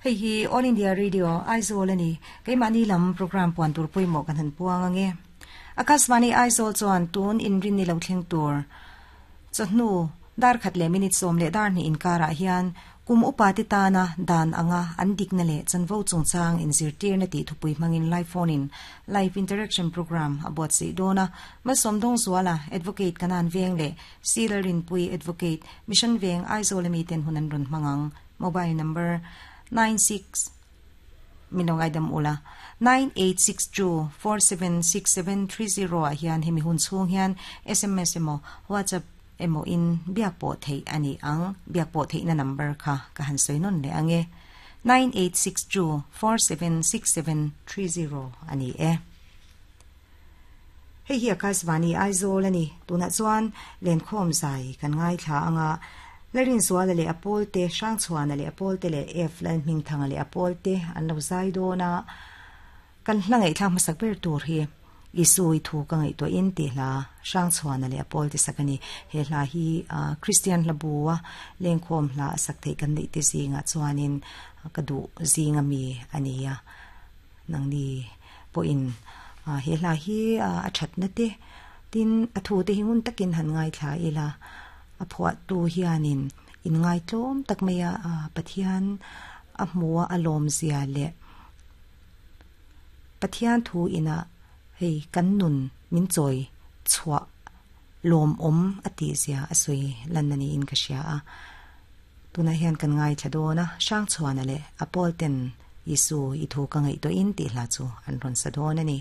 Hei hi All India Radio, Aizawl a ni. Keimahni lam programme puan tur pawimawh kan han puang ange. Akashvani Aizawl chuan tun inrin ni lo thleng tur chawhnu dar khat leh minute 12 inkarah hian kum upa te tana dan anga an dikna leh chanvo chungchang inzirtirna tih thupui hmangin live phone in live interaction programme a buatsaih dawn a. Malsawmdawng Zuala, Advocate Kanan Veng leh Sir Rinpui, Advocate, Mission Veng, Aizawl ami ten hun an rawn hmang ang. Mobile number, 96 min lo ngaidam ula, 9862476730 ah hian hemi hun chhung hian sms emaw WhatsApp emaw in biak pawh theih a ni ang. Biak pawh theihna number kha ka han sawi nawn leh ang e. 9862476730 a ni e. Hei hi Akashvani Aizawl a ni. Tunah chuan Lenkhawm zai kan ngaithla ang a, Larinzuala leh a pawlte, Hrangchhuana leh a pawlte leh F Lalhmingthanga leh a pawlte an lo zai dawn a. Kan hla ngaihthlak hmasak ber tur hi Isui thu ka ngaihtuahin tih hla Hrangchhuana leh a pawlte sak a ni. He hla hi Kristian hla bua Lenkhawm hla a sak theih kan neih te zingah chuanin ka duh zinga mi a ni a. Nangni pawhin he hla hi a thatna te tin a thu te hi ngun takin han ngaithla ila a phuahtu hianin inngaitlawm tak maia Pathian a hmua a lawmzia leh Pathian thu ina hei kan nun min chawi chhuah lawmawm a tihzia a sawi lan a niin ka hria a. Tunah hian kan ngaithla dawn a, Hrangchhuana leh a pawl ten Isu i thu ka ngaihtuahin tih hla chu an rawn sa dawn a ni.